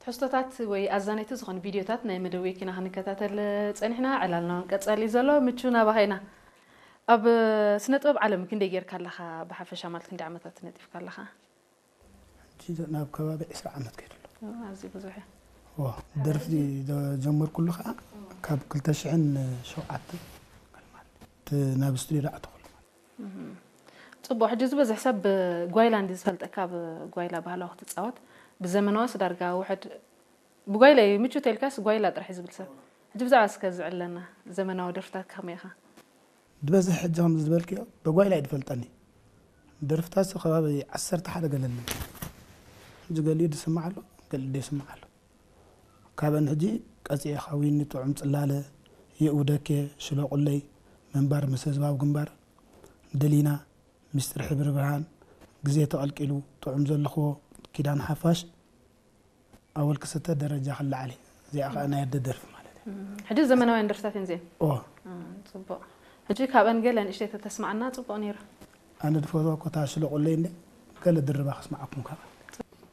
ሕዝቶታት ወይ ኣዛነይቲ ዝኾኑ ቪድዮታት ናይ መደብ ወኪና ክንከታተል ጸኒሕና። ዕላልና እውን ቀጻሊ ዘሎ ምቹ ናባኻ ኢና። ኣብ ስነ ጥበብ ዓለም ክንደይ ጌርካ ኣለኻ ብሓፈሻ? ማለት ክንደይ ዓመታት ነጢፍካ ኣለኻ? ሕጂ ናብ ከባቢ ዕስራ ዓመት ከይዱ ኣሎ። ኣዝዩ ብዙሕ እዩ። ዋ፣ ደርፊ ጀመርኩሉ ከዓ ካብ ክልተ ሽሕን ሸውዓተን ማለት እቲ ናብ ስቱዲዮ ኣተኹሉ። ጽቡቕ። ሕጂ ዝበዝሕ ሰብ ብጓይላ እንዲ ዝፈልጠካ፣ ብጓይላ ባህላዊ ክትጻወት፣ ብዘመናዋስ ዳርጋ ውሕድ። ብጓይላ እዩ ምቹ ተልካስ ጓይላ ጥራሕ እዩ ዝብል ሰብ። ሕጂ ብዛዕባ እስከ ዝዕለና፣ ዘመናዊ ደርፍታት ከመይ ኢኻ? ዝበዝሕ ሕጂ ከም ዝበልክዮ ብጓይላ እዩ ዝፈልጠኒ። ደርፍታት ከባቢ ዓሰርተ ሓደ ገለኒ። ሕጂ ገሊኡ ዝስማዕ ኣሎ፣ ገሊኡ ዘይስማዕ ኣሎ። ካብአን ሕጂ ቀፂኤ ካዊኒ ጥዑም ፅላለ፣ የእውደኬ፣ ሽለቁለይ፣ ምንባር ምስ ህዝባዊ ግንባር፣ ደሊና፣ ሚስጥር ሕብሪ ብርሃን፣ ግዜ ተቐልቂሉ፣ ጥዑም ዘለኽዎ፣ ኪዳን ሓፋሽ፣ ኣወል ክስተ ደረጃ ክለዓል እዩ። እዚኣ ከዓ ናይ ኣደ ደርፊ ማለት እዩ። ሕጂ ዘመናውያን ደርፍታት እየን እዚአን። ኦ ጽቡቕ። ሕጂ ካብአን ገለ ንእሽተይ ተተስማዕና ጽቡቕ ነይሩ። ኣነ ድፈትዋ እኮ እታ ሽለቁለይ እንደ ገለ ድርባ ከስማዓኩም ከዓ።